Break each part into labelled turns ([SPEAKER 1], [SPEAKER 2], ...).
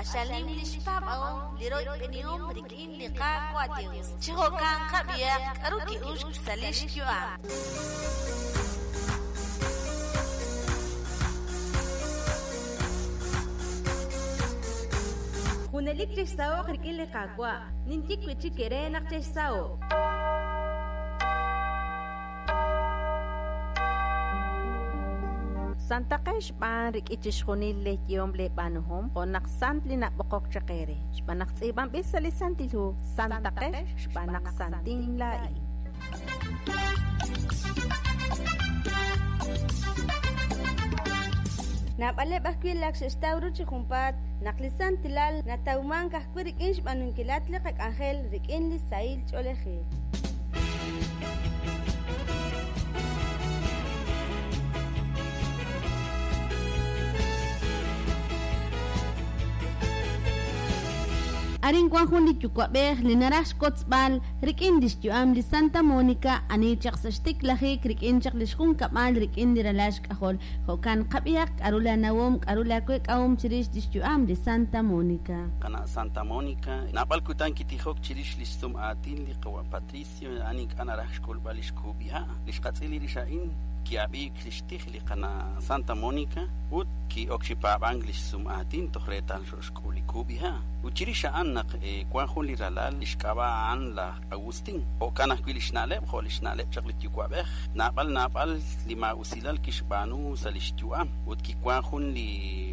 [SPEAKER 1] Q'axal nim li xpaab'ahom li royb'enihom rik'in li Qaawa' Yos. Chi jo'kan qab'ihaq k'aru ki'uxk sa' li xyu'am.
[SPEAKER 2] Junelik chexsaho'q rik'in li Qaawa'. Ninye wi' chik eere naq chexsaho'q.
[SPEAKER 3] Santaqex b'an rik'in chixjunil leeyehom leeb'aanuhom, jo' naq sant li nab'oqok chaq eere. Xb'aan naq tz'iib'anb'il sa' li Santil Hu, Santaqex xb'aan naq santin laa'in.
[SPEAKER 2] Naab'aleb' ajwi' lak xe'xtaw ru chi junpaat naq li santilal natawmank ajwi' rik'in xb'aanunkilat li qak'anjel rik'in li sahil ch'oolejil.
[SPEAKER 3] Arin wan jun li yuwa'b'ej li naraj xkotzb'al rik'in lix yu'am li Santa Monica ani chaq sa' xtiklajik rik'in chaq lix junkab'al rik'in li ralal xk'ajol. Jo'kan qab'ihaq k'a'ru la nawom k'a'ru la week'ahom chirix lix yu'am li Santa Monica.
[SPEAKER 4] Qana' Santa Monica, naab'al kutan kitijok chirix lix sum aatin li qawa' Patricio a'an ink'a' naraj xk'ulb'al lix kub'iha'. Li xqatz'il rix a'in ki'ab'iik lix tij li qana' Santa Monica ut ki'ok chi paab'ank lix sum aatin toj reetal xo'xk'ul li kub'iha'. Ut chirix a'an naq wan jun li ralal lix k'ab'a' a'an laj Agustín. Jo'kan ajwi' lix na'leb' jo' lix na'leb' chaq li yuwa'b'ej. Naab'al naab'al li maa'usilal kixb'aanu sa' lix yu'am ut kiwan jun li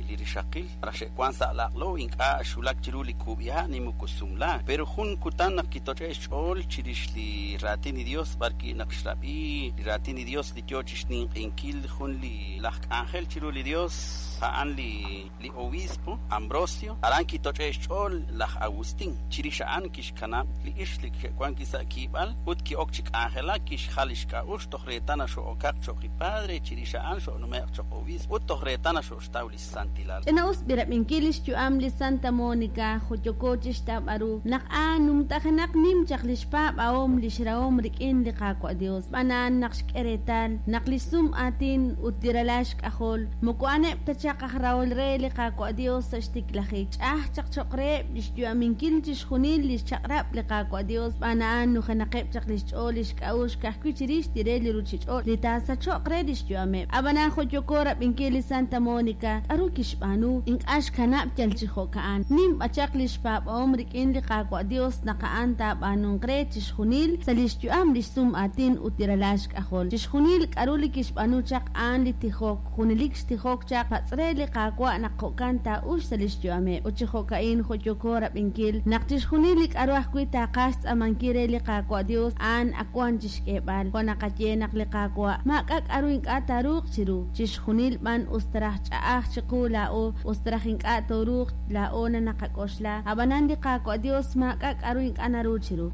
[SPEAKER 4] li rixaqil raj xe'wan sa' laq'lo ink'a' xwulak chiru li kub'iha' ni moko sumlaak. Pero jun kutan naq kitoch'e' xch'ool chirix li raatin li Dios b'arwi' naq xrab'i li raatin li Dios li yoo chixninq'inkil jun li laj k'anjel chiru li Dios a'an li li obispo Ambrosio. Aran kitoch'e' xch'ool laj Agustín. Chirix a'an kixkanab' li ix li xe'wan wi' sa' kiib'al ut ki'ok chi k'anjelak kixjal lix k'a'uxl toj reetal naq xo'okaq cho'q li padre. Chirix a'an xo'nume'q cho'q obispo ut toj reetal naq xo'xtaw lix santilal.
[SPEAKER 3] Ch'ina'us b'irab'inkil lix yu'am li Santa Monica jo' yooko chixtawb'al ru naq a'an numtajenaq nim chaq lix paab'ahom lix rahom rik'in li Qaawa' Dios. Xb'aan a'an naq xk'e reetal naq lix sum aatin ut li ralal xk'ajol moko a'aneb' ta chaq aj rahol re li Qaawa' Dios sa' xtiklajik. Ch'a'aj chaq cho'q reheb' lix yu'aminkil chixjunil lix chaq'rab' li Qaawa' Dios. Xb'aan a'an nujenaqeb' chaq lix ch'ool lix k'a'uxl ka'ajwi' chirix li re li ruchich'och' li taasacho'q re lix yu'ameb'. Ab'anan jo' yooko rab'inkil li Santa Monica k'aru kixb'aanu ink'a' xkanab' yal chi jo'ka'an. Nim b'achaq lix paab'ahom rik'in li Qaawa' Dios naq a'an taab'aanunq re chixjunil sa' lix yu'am lix sum aatin ut li ralal xk'ajol. Chixjunil k'aru li kixb'aanu chaq a'an li tijok, junelik xtijok chaq patz' re li Qaawa' naq jo'kan taa'ux sa' lix yu'ameb'. Ut chi jo'ka'in jo' yooko rab'inkil naq chixjunil li k'aru ajwi' taaqaj xtz'aamankil re li Qaawa' Dios a'an ak wan chixk'eeb'al. Jo' naqaye naq li Qaawa' maak'a' k'aru ink'a' taaruuq chiru. Chixjunil b'an us taraj ch'a'aj chiqu laa'o, us taraj ink'a' tooruuq laa'o na naqak'oxla. Ab'anan li Qaawa' Dios maak'a' k'aru ink'a' naru chiru.